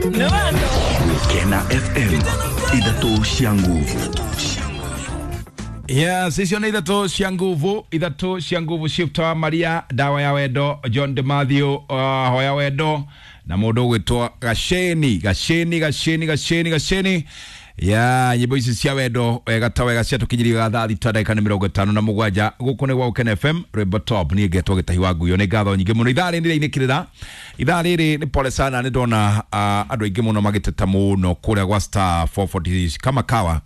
Gukena FM, ithatũ cia nguvu. Yes, icio nä ithatå cia nguvu, ithatå cia nguvu, Shifter Maria, Dawa ya Wendo, John de Mathew, Hoya Wendo na må ndå å gwä two Gaceni, Gaceni, Gaceni, Gaceni, Gaceni ya nyimbo ici cia wendo wega ta wega ciatũkinyĩria thaa thita ndagĩka nĩ 57. Gũkũ nĩ gwa Gũkena FM, rwĩmbo top. Niĩ ngetwo Gĩtahi wa Nguyo. Nĩ ngatho nyingĩ mũno. Ithaa rĩrĩ nĩrĩrainĩkĩrĩra, ithaa rĩrĩ nĩ pole sana, nĩ ndona andũ aingĩ mũno magĩteta mũno kũrĩa gwa star 440 kama kawa.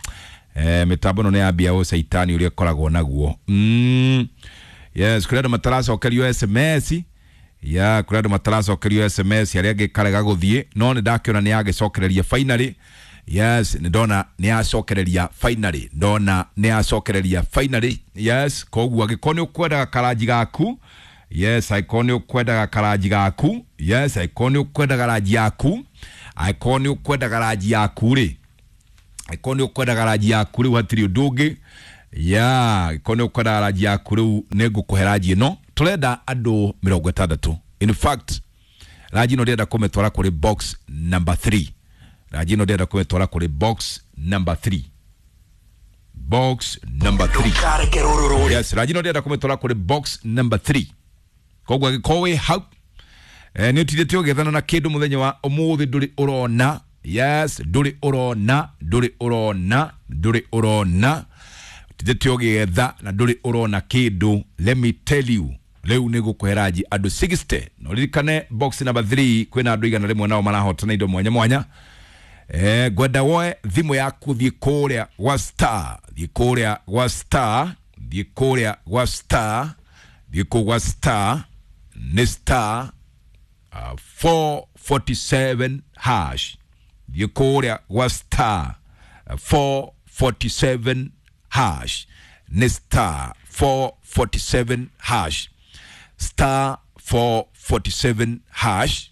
Mĩtambo ĩno nĩ yambia ũcaitani ũrĩa ĩkoragwo naguo. Yes, kũrĩ andũ mataracokerio SMS ya kũrĩ andũ mataracokerio SMS, arĩa angĩ karega gũthiĩ, no nĩ ndakĩona nĩ yagĩcokereria finally. Yes, nĩ ndona nĩ yacokereria finally, ndona nĩ yacokereria finally. Yes, koguo angĩkorwo nĩ ũkwendaga karanji gaku, yes, angĩkorwo nĩ ũkwendaga karanji gaku, yes, angĩkorwo nĩ ũkwendaga ranji yaku, angĩkorwo nĩ ũkwendaga ranji yaku rĩ, angĩkorwo nĩ ũkwendaga ranji yaku rĩu hatirĩ ũndũ ũngĩ ya angĩkorwo nĩ ũkwendaga ranji yaku rĩu nĩ ngũkũhe ranji ĩno. Tũrenda andũ 60. In fact, ranji ĩno ndĩrenda kũmĩtwara kũrĩ box number 3. Ranji ĩno ndĩrenda kũmĩtwara kũrĩ box number 3, box number 3. Ndũkareke rũrũ rũre. Yes, ranji ĩno ndĩrenda kũmĩtwara kũrĩ box number 3. Koguo angĩkorwo wĩ hau, nĩ ũtindĩte ũgĩethana na kĩndũ mũthenya wa ũmũthĩ, ndũrĩ ũrona. Yes, ndũrĩ ũrona, ndũrĩ ũrona, ndũrĩ ũrona, ũtindĩte ũgĩetha na ndũrĩ ũrona kĩndũ, let me tell you, rĩu nĩ gũkũhe ranji andũ 60. Na ũririkane box number 3 kwĩna andũ 100 nao marahotana indo mwanya mwanya. Ngwenda woe thimũ yaku, thiĩ kũrĩa gwa star, thiĩ kũrĩa gwa star, thiĩ kũrĩa gwa star, thiĩ kũu gwa star, nĩ star 447 hash. Thiĩ kũrĩa gwa star 447 hash, nĩ star 447 hash, star 447 hash.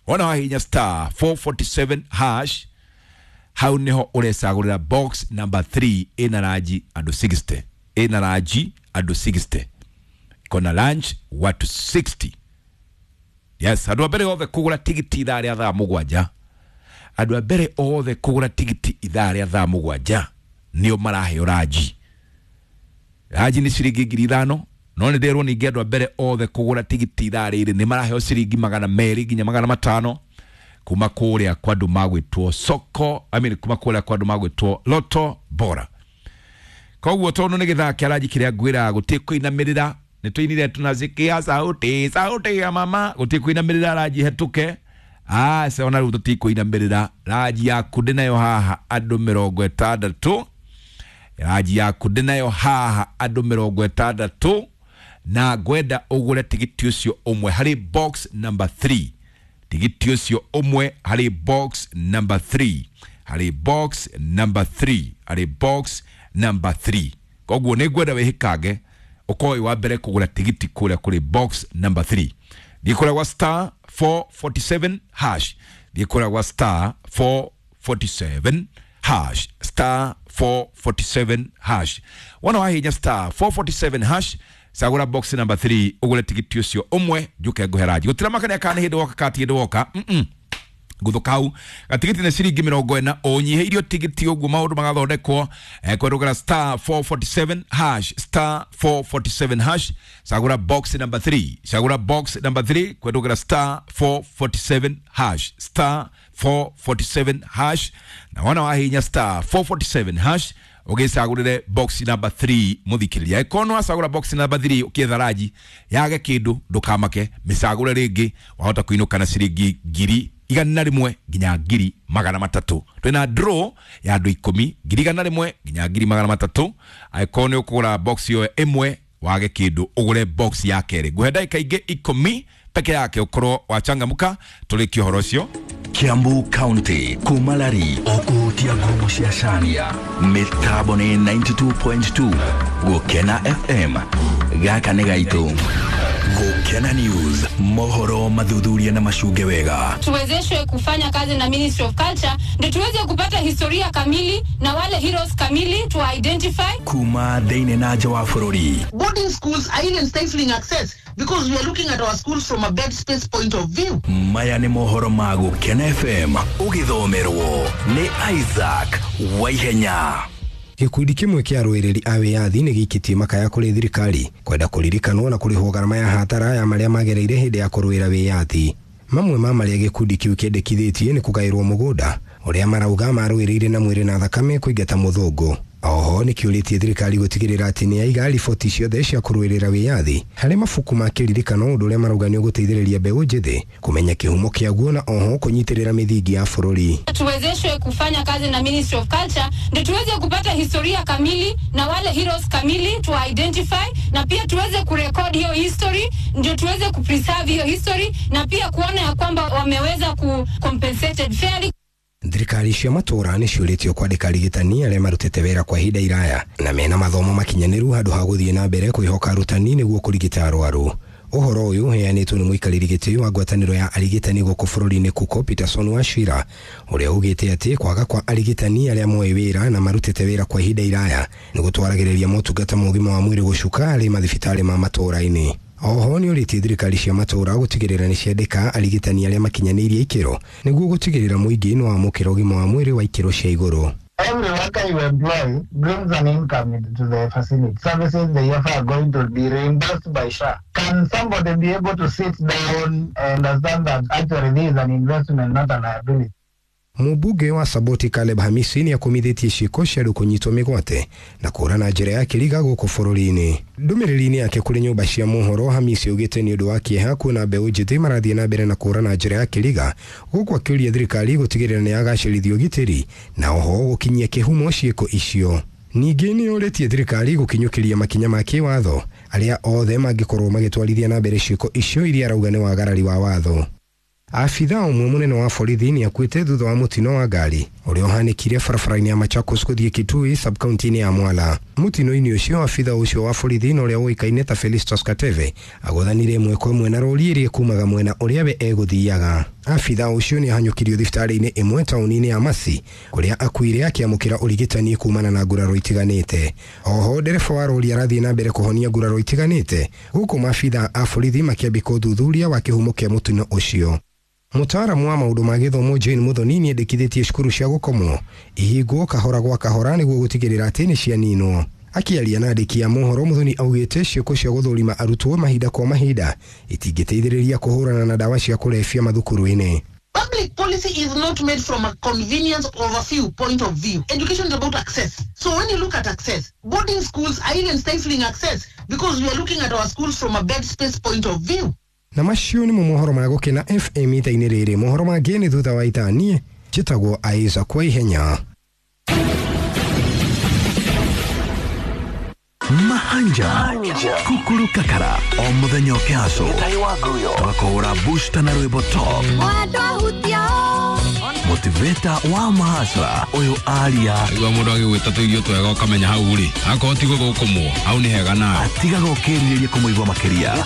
Wona wahinya star 447 hash, hau niho ũrecagũrĩra box number 3 ĩna ranji andũ 60, ĩna ranji andũ 60, kona lunch watu 60. Yes, andũ a mbere othe kũgũra tigiti ithaa rĩa thaa 7, andũ a mbere othe kũgũra tigiti ithaa rĩa thaa 7 nĩo maraheo ranji. Ranji nĩ ciringi 5,000, no nĩ ndĩrwo ningĩ andũ a mbere othe kũgũra tigiti ithaa rĩrĩ nĩ maraheo ciringi 200 nginya 500 kuma kũrĩa kwa andũ magwĩtwo soko, I mean, kuma kũrĩa kwa andũ magwĩtwo Loto Bora. Koguo tondũ nĩ gĩthaa kĩa ranji kĩrĩa ngwĩraga gũtirĩ kũinamĩrĩra, nĩ tũinire tunasikia sauti, sauti ya mama, gũtirĩ kũinamĩrĩra ranji hetũke. Aca ona rĩu tũtikũinamĩrĩra, ranji yaku ndĩnayo haha andũ 60, ranji yaku ndĩnayo haha andũ 60, na ngwenda ũgũre tigiti ũcio ũmwe harĩ box number 3, tigiti ũcio ũmwe harĩ box number 3, harĩ box number 3, harĩ box number 3. Koguo nĩ ngwenda wĩhĩkange ũkorwo wĩ wa mbere kũgũra tigiti kũrĩa kũrĩ box number 3. Thiĩ kũrĩa gwa star 447 hash, thiĩ kũrĩa gwa star 447 hash, star 447 hash. Wona wahinya star 447 hash, cagũra box number 3 ũgũre tigiti ũcio ũmwe, njũke ngũhe ranji. Gũtiramakania kana nĩ hĩndĩ woka kana ti hĩndĩ woka. Ngũthũka hau gatigiti nĩ ciringi 40, ũnyihĩirio tigiti ũguo maũndũ magathondekwo. Kwerũgera star 447 hash, star 447 hash, cagũra box number 3, cagũra box number 3, kwerũgera star 447 hash, star 447 hash. Na wona wahinya star 447 hash ũgĩcagũrĩre box number 3 mũthikĩrĩria. Ĩkorwo nĩ wacagũra box number 3 ũkĩetha ranji yage kĩndũ, ndũkamake, mĩcagũre rĩngĩ, wahota kũinũka na ciringi 100,000 nginya 300,000. Twĩna draw ya andũ 10, 100,000 nginya 300,000. Angĩkorwo nĩ ũkũgũra box ĩyo ĩmwe wage kĩndũ, ũgũre box ya kerĩ. Ngũhe ndagĩka ingĩ 10 peke yake ũkorwo wachangamka, tũrĩkie ũhoro ũcio. Kiambu County, Kumalari, Okuhutia nguvu cia Cania, mĩtambo nĩ 92.2 Gũkena FM. Gaka nĩ gaitũ. Gukena News, mohoro mathuthuria na macunge wega. Tuwezeshwe kufanya kazi na Ministry of Culture ndio tuweze kupata historia kamili na wale heroes kamili to identify. Kuma thĩinĩ na nja wa bũrũri. Boarding schools are even stifling access because we are looking at our schools from a bed space point of view. Maya nĩ mohoro ma Gukena FM ũgĩthomerwo nĩ Isaac Waihenya. Gĩkundi kĩmwe kĩa arũĩrĩri a wĩyathi nĩ gĩikĩtie makaya kũrĩ thirikari kwenda kũririkanwo na kũrĩhwo ngarama ya hatara ya marĩa magereire hĩndĩ ya kũrũĩra wĩyathi. Mamwe ma marĩa gĩkundi kĩu kĩendekithĩtie nĩ kũgaĩrwo mũgũnda ũrĩa marauga marũĩrĩire na mwĩrĩ na thakame kũingata mũthũngũ. Oho nĩ kĩũrĩtie thirikari gũtigĩrĩra atĩ nĩ yaiga riboti ciothe cia kũrũĩrĩra wĩyathi harĩ mabuku ma kĩririkano, ũndũ ũrĩa marauga nĩ ũgũteithĩrĩria mbeũ njĩthĩ kũmenya kĩhumo kĩaguo na oho kũnyitĩrĩra mĩthingi ya bũrũri. Tuwezeshwe kufanya kazi na Ministry of Culture ndio tuweze kupata historia kamili na wale heroes kamili to identify, na pia tuweze kurekodi hiyo history ndio tuweze kupreserve hiyo history, na pia kuona ya kwamba wameweza ku compensated fairly. Thirikari cia matũra nĩ ciũrĩtio kwandĩka arigitani arĩa marutĩte wĩra kwa ihinda iraya na mena mathomo makinyanĩru handũ ha gũthiĩ na mbere kwĩhoka arutani nĩguo kũrigita arwaru. Ũhoro ũyũ ũheanĩtwo nĩ mũikarĩri gĩtĩ wa ngwatanĩro ya arigitani gũkũ bũrũri-inĩ Kuko Peterson Wachira, ũrĩa ugĩte atĩ kwaga kwa arigitani arĩa moĩ wĩra na marutĩte wĩra kwa ihinda iraya nĩ gũtwaragĩrĩria motungata ma ũgima wa mwĩrĩ gũcuka harĩ mathibitarĩ ma matũra-inĩ. Oho nĩ ũrĩtie thirikari cia matũra gũtigĩrĩra nĩ ciandĩka arigitani arĩa makinyanĩirie ikĩro nĩguo gũtigĩrĩra mũingĩ nĩ wamũkĩra ũgima wa mwĩrĩ wa ikĩro cia igũrũ. Every worker you employ brings an income into the facility. Services they offer are going to be reimbursed by SHA. Can somebody be able to sit down and understand that actually this is an investment, not a liability? Mũmbunge wa Saboti Caleb Hamisi nĩ akumithĩtie ciĩko cia andũ kũnyitwo mĩgwate na kũũra na njĩra ya kĩriga gũkũ bũrũri-inĩ. Ndũmĩrĩri-inĩ yake kũrĩ nyũmba cia mohoro, Hamisi augĩte nĩ ũndũ wa kĩeha kuona mbeũ njĩthĩ marathiĩ na mbere na kũũra na njĩra ya kĩriga, gũkũ akĩũria thirikari gũtigĩrĩra nĩ yagacĩrithia ũgitĩri na oho gũkinyia kĩhumo ciĩko icio. Ningĩ nĩ ũrĩtie thirikari gũkinyũkĩria makinya ma kĩwatho arĩa othe mangĩkorwo magĩtwarithia na mbere ciĩko icio iria arauga nĩ wagarari wa watho. Abitha ũmwe mũnene wa borithi nĩ akuĩte thutha wa mũtino wa ngari ũrĩa ũhanĩkire barabara-inĩ ya Machakos gũthiĩ Kitui sub-county-inĩ ya Mwala. Mũtino-inĩ ũcio abitha ũcio wa borithi na ũrĩa ũĩkaine ta Felistus Kateve agũthanire ĩmwe kwa ĩmwe na rori ĩrĩa ĩkumaga mwena ũrĩa we egũthiaga. Abitha ũcio nĩ ahanyũkirio thibitarĩ-inĩ ĩmwe taũni-inĩ ya Masi kũrĩa akuire akĩamũkĩra ũrigitani kumana na nguraro itiganĩte. Oho ndereba wa rori arathiĩ na mbere kũhonia nguraro itiganĩte gũkũ maabitha a borithi makĩambĩka ũthuthuria wa kĩhumo kĩa mũtino ũcio. Mũtaaramu wa maũndũ ma gĩthomo Jane Muthoni nĩendekithĩtie cukuru cia gũkomwo ihingwo kahora gwa kahora nĩguo gũtigĩrĩra atĩ nĩ cianinwo. Akĩaria na andĩki a mohoro, Muthoni augĩte ciĩko cia gũthũrima arutwo mahinda kwa mahinda itingĩteithĩrĩria kũhũrana na ndawa cia kũrebia mathukuru-inĩ. Public policy is not made from a convenience of a few point of view. Education is about access. So when you look at access, boarding schools are even stifling access because we are looking at our schools from a bed space point of view. Na macio nĩmo mohoro ma Gũkena FM itha-inĩ rĩrĩ. Mohoro mangĩ nĩ thutha wa ithaa. Niĩ njĩtagwo Isaac Waihenya. Mahanja Kukuru Kakara o mũthenya ũkĩhaco twakũhũra booster na rwĩmbo top motivator wa mahasra ũyũ aria igua mũndũ agĩgwĩta tũirio twega ũkamenya hau rĩ akorwo ti gũthũkũmwo hau nĩ hega nawe atigaga ũkĩrirĩria kũmũigua makĩria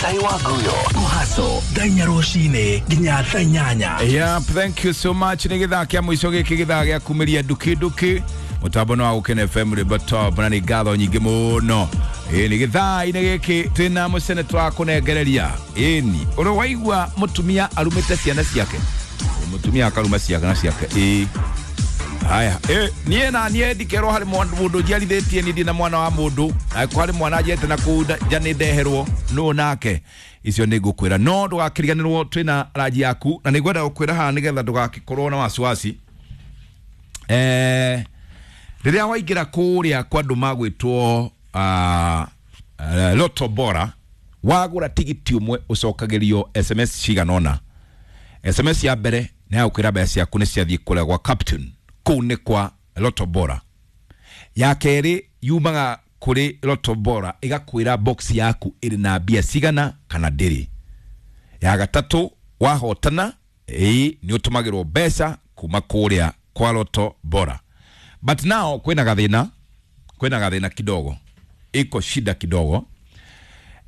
kũhaco thaa inya rũcinĩ nginya thaa inyanya. Yep, thank you so much. Nĩ gĩthaa kĩa mũico gĩkĩ gĩthaa gĩa kumĩria nduki nduki mũtambo wa Gũkena FM rwĩmbo top na nĩ ngatho nyingĩ mũno. Ĩĩ nĩ gĩthaa-inĩ gĩkĩ twĩna mũcene wa kũnengereria. Ĩni ũrĩ waigua mũtumia arumĩte ciana ciake, mũtumia akaruma ciana ciake. Ĩĩ haya, niĩ na niĩ ndikerwo harĩ mũndũ njiarithĩtie niĩ ndĩ na mwana wa mũndũ, angĩkorwo harĩ mwana njete na kũu nja nĩ ndeherwo nũ nake, icio nĩ ngũkwĩra. No ndũgakĩriganĩrwo twĩna ranji yaku na nĩ ngwenda gũkwĩra haha nĩgetha ndũgakĩkorwo na wasiwasi. Rĩrĩa waingĩra kũrĩa kwa andũ magwĩtwo Lotto Bora, wagũra tigiti ũmwe ũcokagĩrio SMS cigana ũna. SMS ya mbere nĩ ya gũkwĩra mbeca ciaku nĩ ciathiĩ kũrĩa gwa captain, kũu nĩ kwa Lotto Bora. Ya kerĩ yumaga kũrĩ Lotto Bora ĩgakwĩra box yaku ĩrĩ na mbia cigana kana ndĩrĩ. Ya gatatũ wahotana ĩĩ nĩ ũtũmagĩrwo mbeca kuma kũrĩa kwa Lotto Bora. But now kwĩna gathĩna kidogo, iko shida kidogo.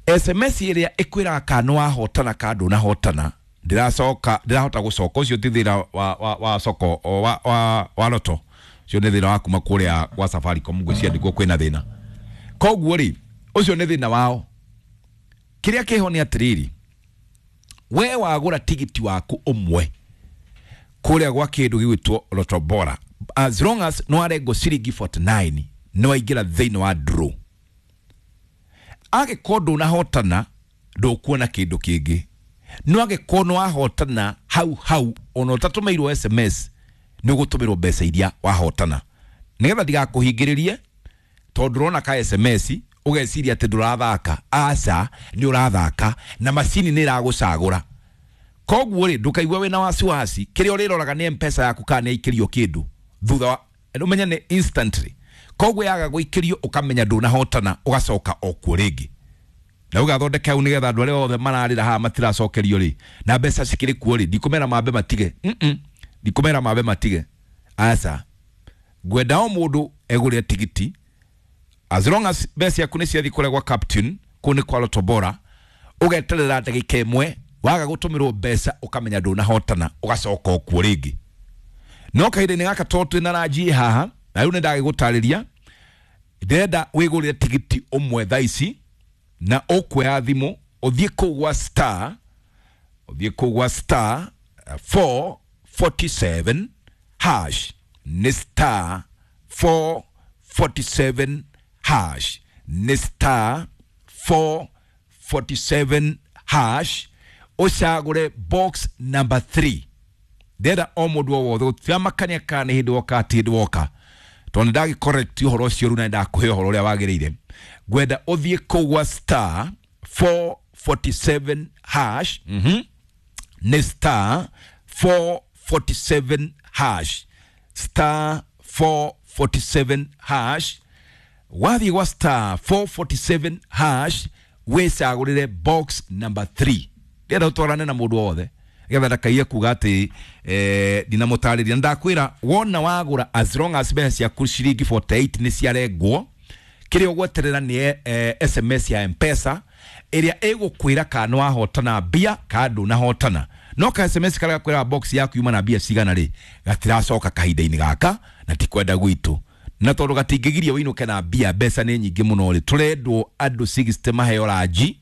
SMS ĩrĩa ĩkwĩraga kana nĩwahotana kana ndũnahotana ndĩracoka ndĩrahota gũcoka. Ũcio ti thĩna wa soko o wa Lotto, ũcio nĩ thĩna wa kuma kũrĩa gwa Safaricom, ngwĩciria nĩkuo kwĩna thĩna. Koguo rĩ, ũcio nĩ thĩna wao. Kĩrĩa kĩho nĩ atĩrĩrĩ, we wagũra tigiti waku ũmwe kũrĩa gwa kĩndũ gĩgwĩtwo Lotto Bora, as long as nĩ warengwo ciringi 49 nĩ waingĩra thĩinĩ wa draw. Angĩkorwo ndũnahotana ndũkuona kĩndũ kĩngĩ, no angĩkorwo nĩ wahotana hau hau ona ũtatũmĩirwo SMS nĩ ũgũtũmĩrwo mbeca iria wahotana, nĩgetha ndigakũhingĩrĩrie tondũ ndũrona ka SMS ũgeciria atĩ ndũrathaka. Aca, nĩ ũrathaka na macini nĩ ĩragũcagũra. Koguo rĩ, ndũkaigua wĩna wasiwasi, kĩrĩa ũrĩroraga nĩ M-Pesa yaku kana nĩ yaikĩrio kĩndũ thutha wa ũmenye nĩ instantly. Koguo yaga gũikĩrio ũkamenya ndũnahotana, ũgacoka o kuo rĩngĩ na ũgathondeka hau, nĩgetha andũ arĩa othe mararĩra haha matiracokerio rĩ, na mbeca cikĩrĩ kuo rĩ, ndikũmera mambe matige. Ndikũmera mambe matige, aca. Ngwenda o mũndũ egũrĩre tigiti as long as mbeca ciaku nĩ ciathiĩ kũrĩa gwa Captain, kũu nĩ kwa Lotto Bora, ũgeterera ndagĩka ĩmwe, waga gũtũmĩrwo mbeca ũkamenya ndũnahotana, ũgacoka o kuo rĩngĩ. No kahinda-inĩ gaka tondũ twĩna ranji haha na rĩu nĩ ndagĩgũtarĩria, ndĩrenda wĩgũrĩre tigiti ũmwe thaa ici na ũkuoya thimũ ũthiĩ kũu gwa star, ũthiĩ kũu gwa star 447 hash, nĩ star 447 hash, nĩ star 447 hash, ũcagũre box number 3. Ndĩrenda o mũndũ o wothe gũtiramakania kana nĩ hĩndĩ woka ti hĩndĩ woka, tondũ nĩ ndagĩcorrect ũhoro ũcio rĩu na nĩndakũhe ũhoro ũrĩa wagĩrĩire. Ngwenda ũthiĩ kũu gwa star 447 hash, nĩ star 447 hash, star 447 hash. Wathiĩ gwa star 447 hash wĩcagũrĩre box number 3. Ndĩrenda ũtwarane na mũndũ wothe nĩgetha ndakaiye kuga atĩ ndinamũtarĩria. Ndakwĩra wona wagũra, as long as mbeca ciaku ciringi 48 nĩ ciarengwo, kĩrĩa ũgweterera nĩ SMS ya M-Pesa ĩrĩa ĩgũkwĩra kana nĩwahotana mbia kana ndũnahotana. No ka SMS karĩa gakwĩraga box yaku yuma na mbia cigana rĩ, gatiracoka kahinda-inĩ gaka na ti kwenda gwitũ, na tondũ gatingĩgiria wĩinũke na mbia, mbeca nĩ nyingĩ mũno rĩ, tũrendwo andũ 60 maheo ranji,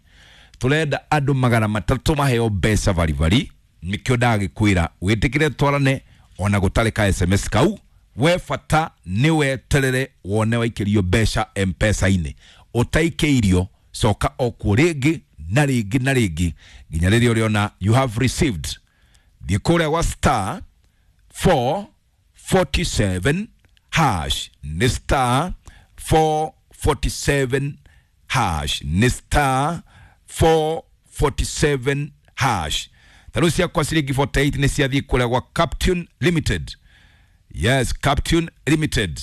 tũrenda andũ 300 maheo mbeca baribari. Nĩkĩo ndagĩkwĩra wĩtĩkĩre twarane ona gũtarĩ ka SMS kau. We bata nĩ weterere wone waikĩrio mbeca M-Pesa-inĩ. Ũtaikĩirio coka o kuo rĩngĩ na rĩngĩ na rĩngĩ nginya rĩrĩa ũrĩona you have received. Thiĩ kũrĩa gwa star 447 hash, nĩ star 447 hash, nĩ star 447 hash. Tarĩu ciakwa ciringi 48 nĩ ciathiĩ kũrĩa gwa Captain Limited. Yes, Captain Limited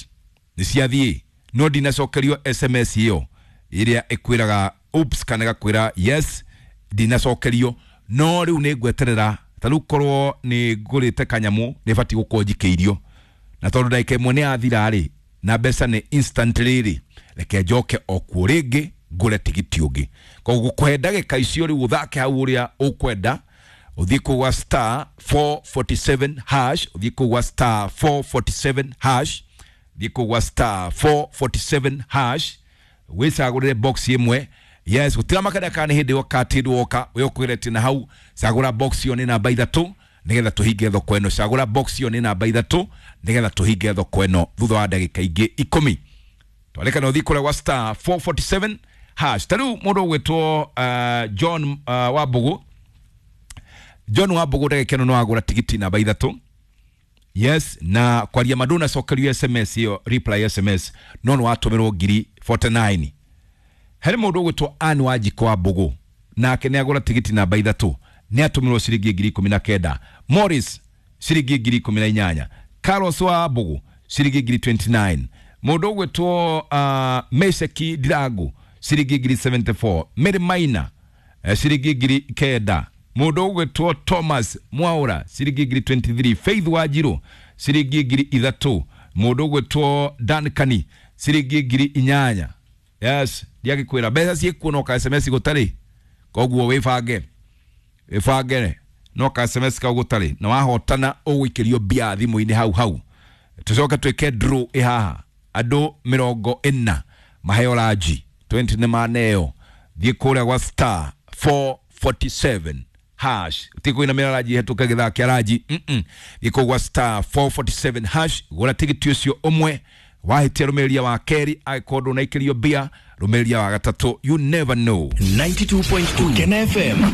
nĩ ciathiĩ, no ndinacokerio SMS ĩyo ĩrĩa ĩkwĩraga oops kana ĩgakwĩra yes, ndinacokerio. No rĩu nĩ ngweterera, tarĩu korwo nĩ ngũrĩte kanyamũ nĩ batiĩ gũkorwo njikĩirio, na tondũ ndagĩka ĩmwe nĩ yathira rĩ, na mbeca nĩ instantly rĩ, reke njoke o kuo rĩngĩ ngũre tigiti ũngĩ. Koguo gũkũhe ndagĩka icio rĩu ũthake hau ũrĩa ũkwenda, ũthiĩ kũu gwa star 447 hash, ũthiĩ kũu gwa star 447 hash, thiĩ kũu gwa star 447 hash wĩcagũrĩre box ĩmwe. Yes, gũtiramakania kana nĩ hĩndĩ woka ti hĩndĩ woka, we ũkwĩretie na hau, cagũra box ĩyo nĩ namba 3 nĩgetha tũhinge thoko ĩno. Cagũra box ĩyo nĩ namba 3 nĩgetha tũhinge thoko ĩno thutha wa ndagĩka ingĩ 10. Twarĩkana ũthiĩ kũrĩa gwa star 447 hash. Ta rĩu mũndũ ũgwĩtwo John Wambũgũ, John Wambũgũ ndagĩka ĩno nĩwagũra tigiti namba 3. Yes, na kwaria ma ndũnacokerio SMS ĩyo reply SMS, no nĩwatũmĩrwo ngiri 49. Harĩ mũndũ ũgwĩtwo Ann Wanjikũ Wambũgũ, nake nĩagũra tigiti namba 3, nĩatũmĩrwo ciringi ngiri 19. Morris ciringi ngiri 18. Carlos Wambũgũ ciringi ngiri 29. Mũndũ ũgwĩtwo Meseki Ndirangu ciringi ngiri 74. Mary Maina ciringi ngiri 9. Mũndũ ũgwĩtwo Thomas Mwaura ciringi ngiri 23. Faith Wanjiru ciringi ngiri 3. Mũndũ ũgwĩtwo Duncan ciringi ngiri 8. Yes, Ndiagĩkwĩra mbeca ciĩkuo no ka SMS gũtarĩ, koguo wĩbange wĩbange no ka SMS kau gũtarĩ, na wahotana ũgũikĩrio mbia thimũ-inĩ hau hau. Tũcoke twĩke draw ĩ haha, andũ 40 maheo ranji 20 nĩ maneo. Thiĩ kũrĩa gwa star 447 hash, tikũinamĩra ranji hetũke gĩthaa kĩa ranji. Thiĩ kũu gwa star 447 hash, gũra tigiti ũcio ũmwe. Wahĩtia, rũmĩrĩria wa kerĩ, angĩkorwo ndũnaikĩrio mbia, rũmĩrĩria wa gatatũ, you never know. 92.2 Kena FM.